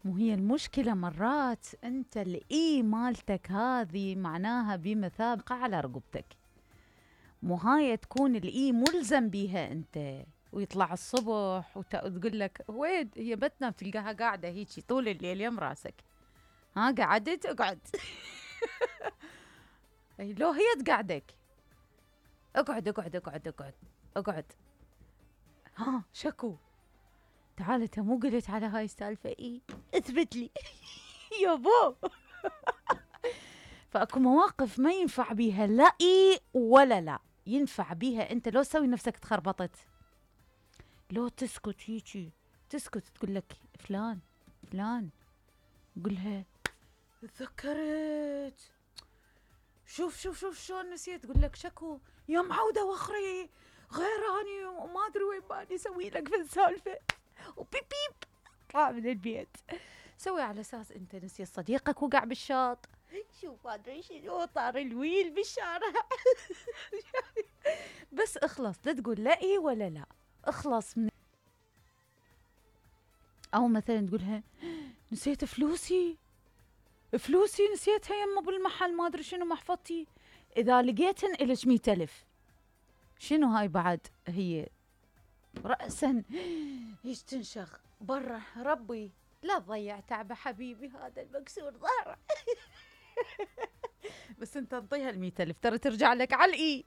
مو هي المشكلة مرات انت الاي مالتك هذه معناها بمثابة على رقبتك، مو هاي تكون الاي ملزم بيها انت، ويطلع الصبح وتقول لك وين هي بتنا، بتلقاها قاعدة هيجي طول الليل يم راسك. ها قعدت اقعد. لو هي تقعدك اقعد اقعد اقعد اقعد اقعد. ها شكو تعال، انت مو قلت على هاي السالفة اي اثبت لي. يابا. فاكو مواقف ما ينفع بيها لا اي ولا لا، ينفع بيها انت لو تسوي نفسك تخربطت، لو تسكت هيجي، تسكت تقول لك فلان فلان، قولها تذكرت، شوف شوف شوف شلون نسيت، تقول لك شكو يا معودة وخري غيراني وما ادري وين ماني اسوي لك في السالفة، وبيب بيب اطلع من البيت. سوي على اساس انت نسيت صديقك وقع بالشاط، شوف ما ادري شنو طار الويل بالشارع. بس اخلص، لا تقول لا اي ولا لا، اخلص من. او مثلا تقولها نسيت فلوسي، فلوسي نسيتها يمه بالمحل ما ادري شنو محفظتي، اذا لقيتن الك 100,000. شنو هاي بعد هي رأسا ايش تنشغ برا، ربي لا تضيع تعبه حبيبي هذا المكسور ظهره. بس انت انطيها 100,000 ترى ترجع لك على الاي.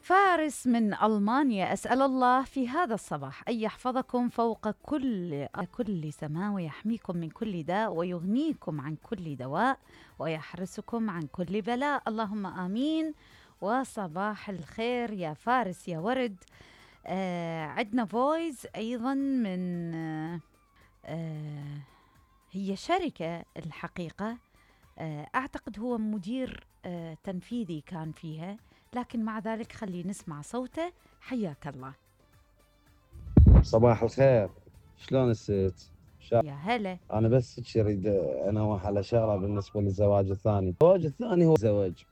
فارس من ألمانيا، أسأل الله في هذا الصباح أن يحفظكم فوق كل سماء، ويحميكم من كل داء، ويغنيكم عن كل دواء، ويحرسكم عن كل بلاء، اللهم آمين. وصباح الخير يا فارس يا ورد. عندنا فويس أيضا من هي شركة الحقيقة، أعتقد هو مدير تنفيذي كان فيها، لكن مع ذلك خلي نسمع صوته. حياك الله. صباح الخير، شلون الست؟ يا هلا. أنا بس أريد أنوه على شغلة بالنسبة للزواج الثاني. الزواج الثاني هو زواج،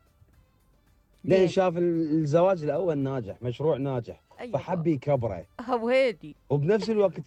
لأن شاف الزواج الأول ناجح، مشروع ناجح، أيوة فحب يكبره وهيدي وبنفس الوقت